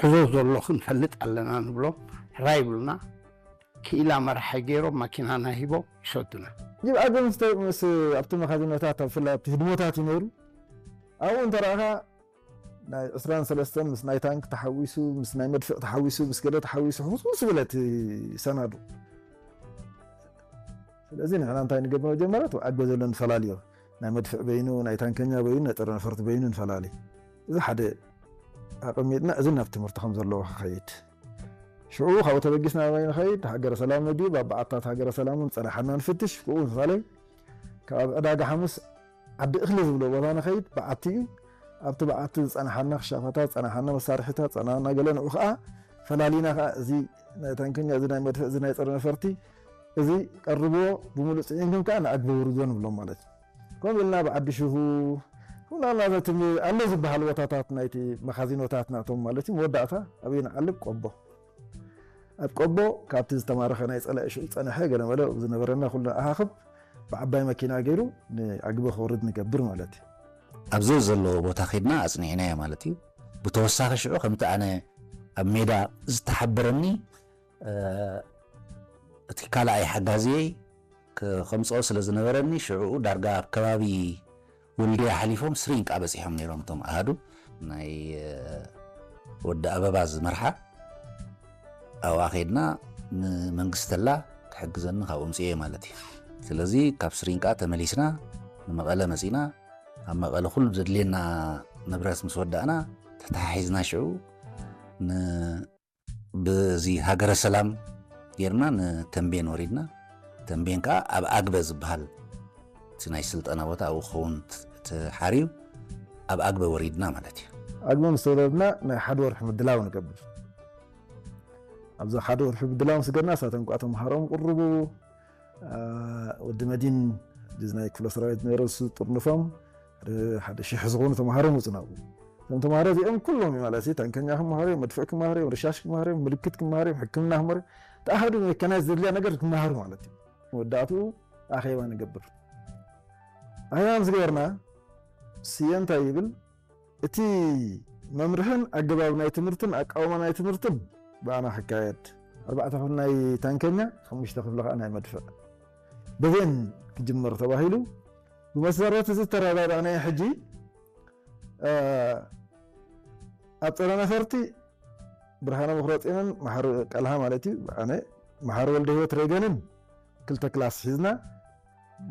እዞ ዘሎ ክንፈልጥ ኣለና ንብሎም። ሕራይ ይብሉና። ክኢላ መራሒ ገይሮም ማኪናና ሂቦም ይሰዱና። ይብኣገ ምስ ምስ ኣብቲ መኻዚኖታት፣ ኣብ ፍላይ ኣብቲ ህድሞታት እዩ ነይሩ። ኣብኡ እንተረኣኻ ናይ ዕስራን ሰለስተን ምስ ናይ ታንክ ተሓዊሱ፣ ምስ ናይ መድፍዕ ተሓዊሱ፣ ምስ ገለ ተሓዊሱ፣ ሕውስውስ ዝበለ እቲ ሰናዱ። ስለዚ ንሕና እንታይ ንገብር? መጀመርያ እቲ ኣብ ኣግበ ዘሎ ንፈላልዮ። ናይ መድፍዕ በይኑ፣ ናይ ታንከኛ በይኑ፣ ናይ ጸረ ነፈርቲ በይኑ ንፈላሊ። እዚ ሓደ ኣቐሚጥና፣ እዚ ናብ ትምህርቲ ከም ዘለዎ ክኸይድ። ሽዑ ካብኡ ተበጊስና ናበይ ንኸይድ? ሃገረ ሰላም ነድዩ፣ ኣብ በዓታት ሃገረ ሰላም እውን ጸናሕና ንፍትሽ። ብኡ ምሳሌ ካብ ዕዳጋ ሓሙስ ዓዲ እኽሊ ዝብሎ ቦታ ንኸይድ፣ በዓቲ እዩ። ኣብቲ በዓቲ ዝጸናሓና ክሻፋታት፣ ዝጸናሓና መሳርሒታት፣ ዝጸናሓና ገለ ንዑ ኸኣ ፈላሊና ኸኣ እዚ ናይ ታንከኛ፣ እዚ ናይ መድፍዕ፣ እዚ ናይ ጸረ ነፈርቲ፣ እዚ ቀርብዎ፣ ብምሉእ ጽዒንኩም ከኣ ንኣግበ ውርዶ ንብሎም ማለት እዩ። ከምኡ ኢልና ብዓዲ ሽሁ፣ ከምኡ ኢልና ነቲ ኣሎ ዝበሃል ቦታታት ናይቲ መኻዚኖታት ናቶም ማለት እዩ። መወዳእታ ኣበይ ንዓልብ? ቆቦ። ኣብ ቆቦ ካብቲ ዝተማረኸ ናይ ጸላኢ ሽዑ ዝጸንሐ ገለመለ ዝነበረና ኩሉ ኣኻኽብ ብዓባይ መኪና ገይሩ ንኣግበ ክወርድ ንገብር ማለት እዩ። ኣብዚ ዘለዎ ቦታ ኸድና ኣጽኒዕናዮ ማለት እዩ። ብተወሳኺ ሽዑ ከምቲ ኣነ ኣብ ሜዳ ዝተሓበረኒ፣ እ፣ እቲ ካልኣይ ሓጋዝየይ ክ-፣ ከምጽኦ ስለ ዝነበረኒ ሽዕኡ ዳርጋ ኣብ ከባቢ ወልድያ ሓሊፎም ስሪንቃ በጺሖም ነይሮም እቶም ኣሃዱ። ናይ፣ እ፣ ወዲ ኣበባ ዝመርሓ ኣብኣ ኸድና ንመንግስተላ ክሕግዘኒ ካብኡ ምጽኤ ማለት እዩ። ስለዚ ካብ ስሪንቃ ተመሊስና ንመቐለ መጺና፣ ኣብ መቐለ ኩሉ ዘድልየና ንብረት ምስ ወዳእና ተተሓሒዝና ሽዑ ን-፣ ብዚ ሃገረ ሰላም ጌርና ንተንቤን ወሪድና። ተንቤን ከኣ ኣብ ኣግበ ዝበሃል እቲ ናይ ስልጠና ቦታ ኣብኡ ክኸውን ት-፣ ተሓርዩ ኣብ ኣግበ ወሪድና ማለት እዩ። ኣግበ ምስ ተወረድና ናይ ሓደ ወርሒ ምድላው ንገብር። ኣብዚ ሓደ ወርሒ ምድላው ምስ ገርና፣ እሳቶም ከኣ ተምሃሮም ቅርቡ፣ አ፣ ወዲ መዲን፣ እዚ ናይ ክፍለ ሰራዊት ነይሩ፣ እሱ ጥርንፎም፣ ሓደ፣ ሓደ ሽሕ ዝኾኑ ተምሃሮ መጹ ናብኡ። እቶም ተምሃሮ እዚኦም ኩሎም ማለት እዩ፣ ታንከኛ ክምሃሩ እዮም፣ መድፍዕ ክምሃሩ እዮም፣ ርሻሽ ክምሃሩ እዮም፣ ምልክት ክምሃሩ እዮም፣ ሕክምና ክምሃሩ እዮም። ተኣሃዱ መካናይዝ ዘድልያ ነገር ክምሃሩ ማለት እዩ። መወዳእትኡ ኣኼባ ንገብር። ኣኼባ ምስ ገበርና፣ ስየ እንታይ ይብል? እቲ መምርሕን ኣገባብ ናይ ትምህርትን ኣቃውማ ናይ ትምህርትን ብኣና ክካየድ፣ ኣርባዕተ ክፍሊ ናይ ታንከኛ፣ ሓሙሽተ ክፍሊ ከኣ ናይ መድፍዕ። በዜን ክጅመር ተባሂሉ። ብመሰረት እዚ ዝተረዳዳእናዮ ሕጂ፣ እ፣ ኣብ ጸረ ነፈርቲ ብርሃነ ምክረጽዮንን መሓሪ ቀልሃ ማለት እዩ፣ ኣነ፣ መሓሪ ወልደ ህይወት ሬገንን ክልተ ክላስ ሒዝና፣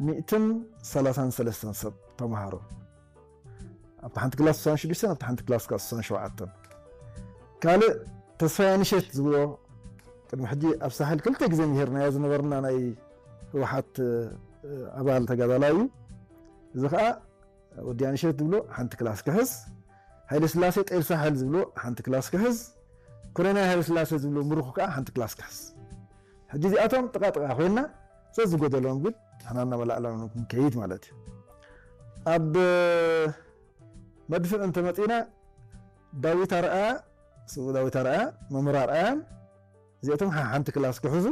ሚእትን ሰላሳን ሰለስተን ሰብ ተምሃሮ። ኣብታ ሓንቲ ክላስ ስሳን ሽዱሽተን፣ ኣብታ ሓንቲ ክላስ ከኣ ስሳን ሸውዓተን። ካልእ ተስፋይ ኣንሸት ዝብሎ ቅድሚ ሕጂ ኣብ ሳሕል ክልተ ግዜ ምሂርናዮ ዝነበርና ናይ ህወሓት፣ እ፣ ኣባል ተጋዳላይ እዩ። እዚ ከኣ ወዲ ኣንሸት ዝብሎ ሓንቲ ክላስ ክሕዝ፣ ሃይለ ስላሴ ጤል ሳሕል ዝብሎ ሓንቲ ክላስ ክሕዝ፣ ኮሎኔል ሃይለ ስላሴ ዝብሎ ምሩኽ ከኣ ሓንቲ ክላስ ክሕዝ። ሕጂ እዚኣቶም ጥቓ ጥቓ ኮይንና፣ ዘዝጎደሎም ግን ንሕና እናመላእናዮም ክንከይድ ማለት እዩ። ኣብ መድፍዕ እንተመጺእና፣ ዳዊት ኣርኣያ፣ ስዉእ ዳዊት ኣርኣያ፣ መምህር ኣርኣያን እዚኣቶም ሓ-፣ ሓንቲ ክላስ ክሕዙ፣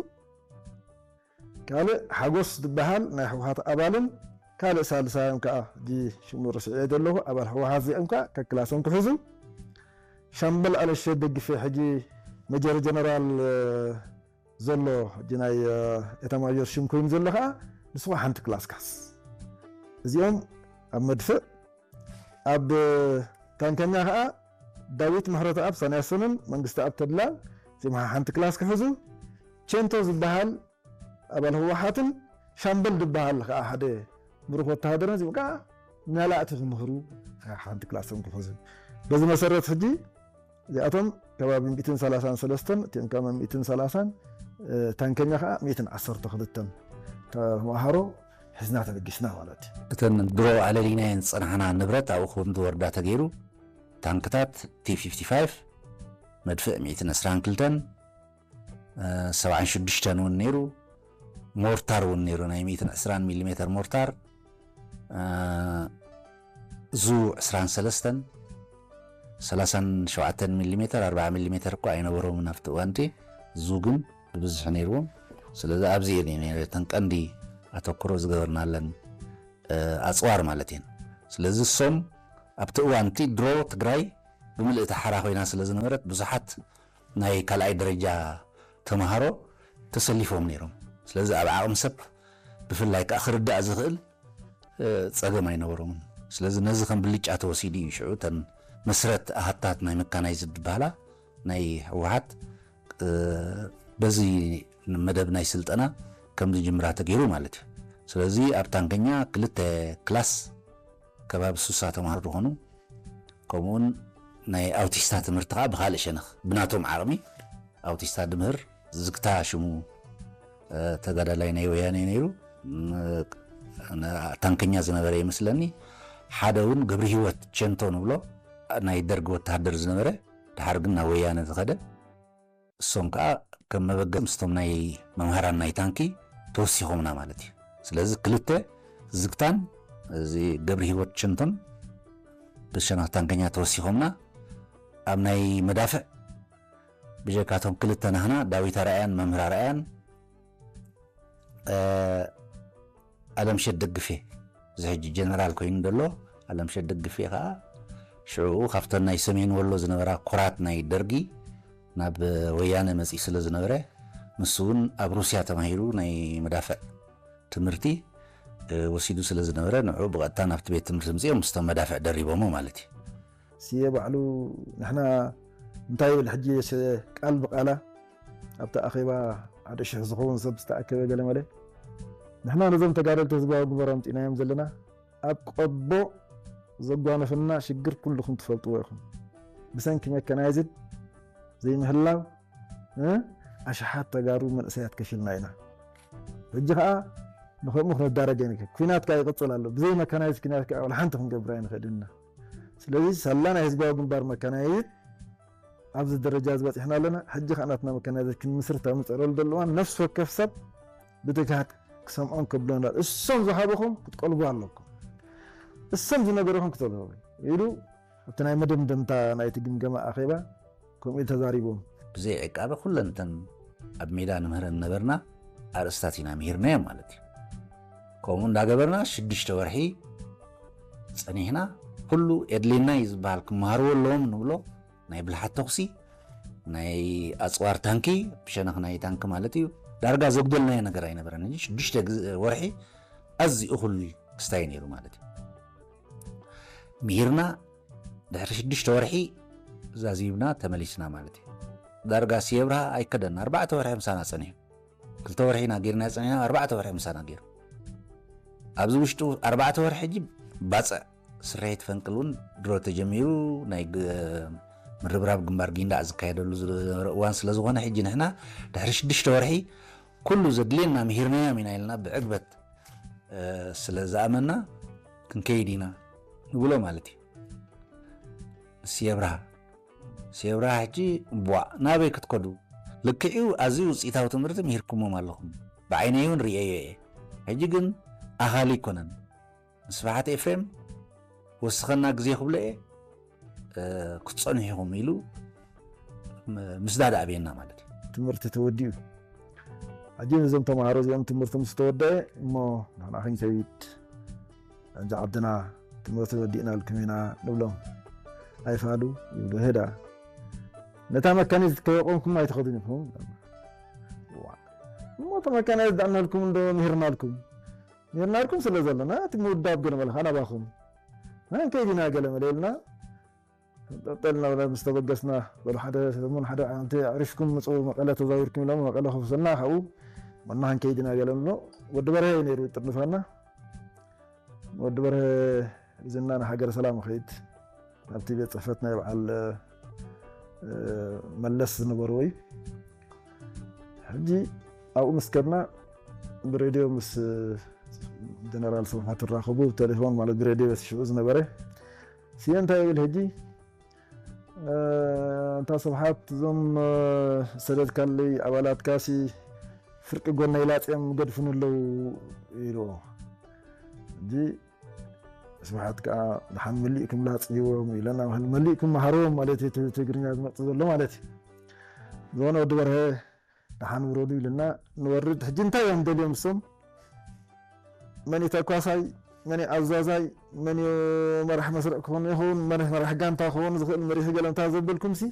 ካልእ ሓጎስ ዝበሃል ናይ ህወሓት ኣባልን ካልእ ሳልሳዮም ከኣ፣ ሕጂ ሽሙ ረሲዐዮ ዘለኹ፣ ኣባል ህወሓት እዚኦም ከኣ ከክላሶም ክሕዙ። ሻምበል ኣለሸት ደግፌ፣ ሕጂ ሜጀር ጀነራል፣ እ፣ ዘሎ፣ ሕጂ ናይ፣ እ፣ ኤታማዦር ሽም ኮይኑ ዘሎ ከኣ፣ ንሱ ከኣ ሓንቲ ክላስ ክሕዝ። እዚኦም ኣብ መድፍዕ፣ ኣብ ታንከኛ ከኣ ዳዊት ምሕረተኣብ ሳንያሶንን መንግስተኣብ ተድላን፣ እዚኦም ሓንቲ ክላስ ክሕዙ። ቼንቶ ዝበሃል ኣባል ህወሓትን ሻምበል ዝበሃል ከኣ ሓደ ምሩኽ ወተሃደርን፣ እዚኦም ከኣ ናላእቲ ክምህሩ ሓንቲ ክላሶም ክሕዙ። በዚ መሰረት ሕጂ እዚኣቶም ከባቢ ሚእትን ሰላሳን ሰለስተን፣ እቲኦም ከኣ ሚእትን ሰላሳን፣ እ፣ ታንከኛ ከኣ ሚእትን ዓሰርተ ክልተን ተምሃሮ ሒዝና ተበጊስና ማለት እዩ። እተን ድሮ ኣለሊናየን ዝጸናሕና ንብረት ኣብኡ ከም ዝወርዳ ተገይሩ፣ ታንክታት ቲ ፊፍቲ ፋይቭ፣ መድፍዕ ሚእትን ዕስራን ክልተን፣ እ፣ ሰብዓን ሽዱሽተን እውን ነይሩ፣ ሞርታር እውን ነይሩ፣ ናይ ሚእትን ዕስራን ሚሊሜተር ሞርታር፣ እ፣ ዙ ዕስራን ሰለስተን፣ ሰላሳን ሸውዓተን ሚሊሜተር፣ ኣርብዓ ሚሊሜተር እኳ ኣይነበሮምን ኣብቲ እዋን እቲ፣ ዙ ግን ብብዝሒ ነይርዎም። ስለዚ ኣብዚ እየን ነይረን እተን ቀንዲ ኣተኩሮ ዝገበርናለን፣ እ፣ ኣጽዋር ማለት እየን። ስለዚ እሶም ኣብቲ እዋን እቲ ድሮ ትግራይ ብምልእቲ ሓራ ኮይና ስለ ዝነበረት ብዙሓት ናይ ካልኣይ ደረጃ ተምሃሮ ተሰሊፎም ነይሮም። ስለዚ ኣብ ዓቕሚ ሰብ ብፍላይ ከዓ ክርዳእ ዝኽእል ጸገም ኣይነበሮምን። ስለዚ ነዚ ከም ብልጫ ተወሲዱ እዩ። ሽዑ እተን መስረት ኣሃታት ናይ መካናይዝድ ዝበሃላ ናይ ህወሓት በዚ መደብ ናይ ስልጠና ከም ዝጅምራ ተገይሩ ማለት እዩ። ስለዚ ኣብ ታንከኛ ክልተ ክላስ ከባቢ ሱሳ ተምሃሮ ዝኾኑ፣ ከምኡውን ናይ ኣውቲስታ ትምህርቲ ከዓ ብካልእ ሸነኽ ብናቶም ዓቕሚ ኣውቲስታ ድምህር ዝግታ ሽሙ ተጋዳላይ ናይ ወያነ ነይሩ። ታንከኛ ዝነበረ ይመስለኒ። ሓደ እውን ገብሪ ህይወት ቸንቶ ንብሎ ናይ ደርግ ወተሃደር ዝነበረ፣ ድሓር ግን ናብ ወያነ ዝኸደ። እሶም ከዓ ከም መበገሲ ምስቶም ናይ መምሃራን ናይ ታንኪ ተወሲኾምና ማለት እዩ። ስለዚ ክልተ ዝግታን እዚ ገብሪ ህይወት ቸንቶን ብሸነኽ ታንከኛ ተወሲኾምና። ኣብ ናይ መዳፍዕ ብጀካቶም ክልተ ናህና፣ ዳዊት ኣርኣያን መምህር ኣርኣያን ኣለምሸት ደግፌ፣ እዚ ሕጂ ጀነራል ኮይኑ ዘሎ ኣለምሸት ደግፌ ከዓ ሽዑ ካብተን ናይ ሰሜን ወሎ ዝነበራ ኩራት ናይ ደርጊ ናብ ወያነ መፂኡ ስለ ዝነበረ፣ ንሱ እውን ኣብ ሩስያ ተማሂሩ ናይ መዳፍዕ ትምህርቲ ወሲዱ ስለ ዝነበረ፣ ንዑ ብቐጥታ ናብቲ ቤት ትምህርቲ ምፅኦም ምስቶም መዳፍዕ ደሪቦሞ ማለት እዩ። ስየ ባዕሉ ንሕና እንታይ ይብል ሕጂ ቃል ብቃላ ኣብቲ ኣኼባ ሓደ ሽሕ ዝኸውን ሰብ ዝተኣከበ ገለ መለ፣ ንሕና ነዞም ተጋደልቲ ህዝባዊ ግንባር ኣምፂእናዮም ዘለና ኣብ ቆቦ ዘጓነፈና ሽግር ኩልኹም ትፈልጥዎ ኢኹም። ብሰንኪ መከናይዝድ ዘይምህላው ኣሽሓት ተጋሩ መንእሰያት ከፊልና ኢና። ሕጂ ከዓ ንከምኡ ክነዳረግ ኣይንክእል። ኩናት ከዓ ይቕፅል ኣሎ። ብዘይ መካናይዝ ኩናት ከዓ ወላ ሓንቲ ክንገብር ኣይንኽእልን ኢና። ስለዚ ሳላ ናይ ህዝባዊ ግንባር መካናይዝ ኣብዚ ደረጃ ዝበፂሕና ኣለና። ሕጂ ከዓ ናትና መካናይዝ ክንምስርት ኣብ ንፅዕረሉ ዘሎ እዋን ነፍሲ ወከፍ ሰብ ብትግሃት ክሰምዖን ከብሎን እሶም ዝሃበኹም ክትቀልቡ ኣለኩም። እሶም ዝነገረኹም ክትቀልቡ ኢሉ ኣብቲ ናይ መደምደምታ ናይቲ ግምገማ ኣኼባ ከምኡ ኢሉ ተዛሪቦም። ብዘይ ዕቃበ ኩለን እተን ኣብ ሜዳ ንምህረን ነበርና ኣርእስታት ኢና ምሂርናዮም ማለት እዩ። ከምኡ እንዳገበርና ሽዱሽተ ወርሒ ፀኒሕና። ኩሉ የድልየና እዩ ዝበሃል ክመሃርዎ ኣለዎም ንብሎ ናይ ብልሓት ተኹሲ፣ ናይ ኣፅዋር ታንኪ፣ ብሸነኽ ናይ ታንኪ ማለት እዩ። ዳርጋ ዘጉደልናዮ ነገር ኣይነበረን። ሽዱሽተ ወርሒ ኣዝዩ እኹል ክስታይ ነይሩ ማለት እዩ። ምሂርና ድሕሪ ሽዱሽተ ወርሒ ዛዚምና ተመሊስና ማለት እዩ። ዳርጋ ስየ ብርሃ ኣይከደና ኣርባዕተ ወርሒ ምሳና ጸኒሑ። ክልተ ወርሒ ኢና ጌርና ጸኒሕና፣ ኣርባዕተ ወርሒ ምሳና ጌሩ። ኣብዚ ውሽጡ ኣርባዕተ ወርሒ ሕጂ ባጽዕ ስርሒት ፈንቅል እውን ድሮ ተጀሚሩ፣ ናይ ምርብራብ ግንባር ጊንዳዕ ዝካየደሉ ዝነበረ እዋን ስለ ዝኾነ፣ ሕጂ ንሕና ድሕሪ ሽዱሽተ ወርሒ ኩሉ ዘድልየና ምሂርናዮም ኢና ኢልና ብዕግበት ስለ ዝኣመና ክንከይድ ኢና ንብሎ ማለት እዩ። ስየ ብርሃ ስየ ብርሃ ሕጂ ቧእ ናበይ ክትከዱ? ልክዕዩ ኣዝዩ ውፅኢታዊ ትምህርቲ ምሂርኩሞም ኣለኹም። ብዓይነይ እውን ርእየዮ እየ። ሕጂ ግን ኣኻሊ ኣይኮነን። ንስብሓት ኤፍሬም ወስኸና ግዜ ክብሎ እየ፣ ክትፀንሑ ኢኹም ኢሉ ምስዳድ ኣብየና ማለት እዩ። ትምህርቲ ተወዲኡ። ሕጂ ነዞም ተምሃሮ እዚኦም ትምህርቲ ምስ ተወደአ እሞ ንሕና ክንከይድ እንጂ ዓድና ትምህርቲ ወዲእናልኩም ኢና ንብሎም። ኣይፋሉ ይብሉ። ህዳ ነታ መካኒዝት ከየቆምኩም ኣይትኸዱን ኢኹም። እሞ እቲ መካኒዝት ዳእናልኩም እንዶ ምሂርናልኩም ምሂርናልኩም ስለ ዘለና እቲ ምውዳብ ገለ መለኻ ናባኹም ንከይድ ኢና ገለ መለ ኢልና ጠጠልና ምስ ተበገስና በሉ ሓደ ሰሙን ሓደ ዓመት ኣዕሪፍኩም ምፁ መቐለ ተዛዊርኩም ኢሎም መቐለ ከፍሰና ካብኡ መና ክንከይድ ኢና ገለ ብሎ ወዲ በርሀ እዩ ነይሩ ይጥርንፋና። ወዲ በርሀ ዝና ንሃገረ ሰላም ኸይድ ኣብቲ ቤት ፅሕፈት ናይ በዓል መለስ ዝነበርዎ እዩ። ሕጂ ኣብኡ ምስ ከድና ብሬድዮ ምስ ጀነራል ስብሓት ትራኸቡ ቴሌፎን ማለት ብሬድዮ በቲ ሽዑ ዝነበረ ስየ እንታይ ይብል ሕጂ እንታ ስብሓት እዞም ሰደድካለይ ኣባላትካሲ ፍርቂ ጎነይ ላፅዮም ገድፉን ኣለዉ ኢልዎ። ሕጂ ስብሓት ከዓ ደሓን መሊእኩም ላፅይዎም ኢለና መሊእኩም መሃርዎም ማለት እዩ ትግርኛ ዝመፅእ ዘሎ ማለት እዩ። ዝኾነ ወዲ በርሀ ደሓን ውረዱ ኢልና ንወርድ ሕጂ እንታይ እዮም ደልዮም እሶም መን ተኳሳይ መን እዩ ኣዛዛይ፣ መን እዩ መራሕ መስርዕ ክኾን ይኸውን፣ መራሕ መራሕ ጋንታ ክኸውን ዝኽእል መሪሒ ገለምታ ዘበልኩም ሲ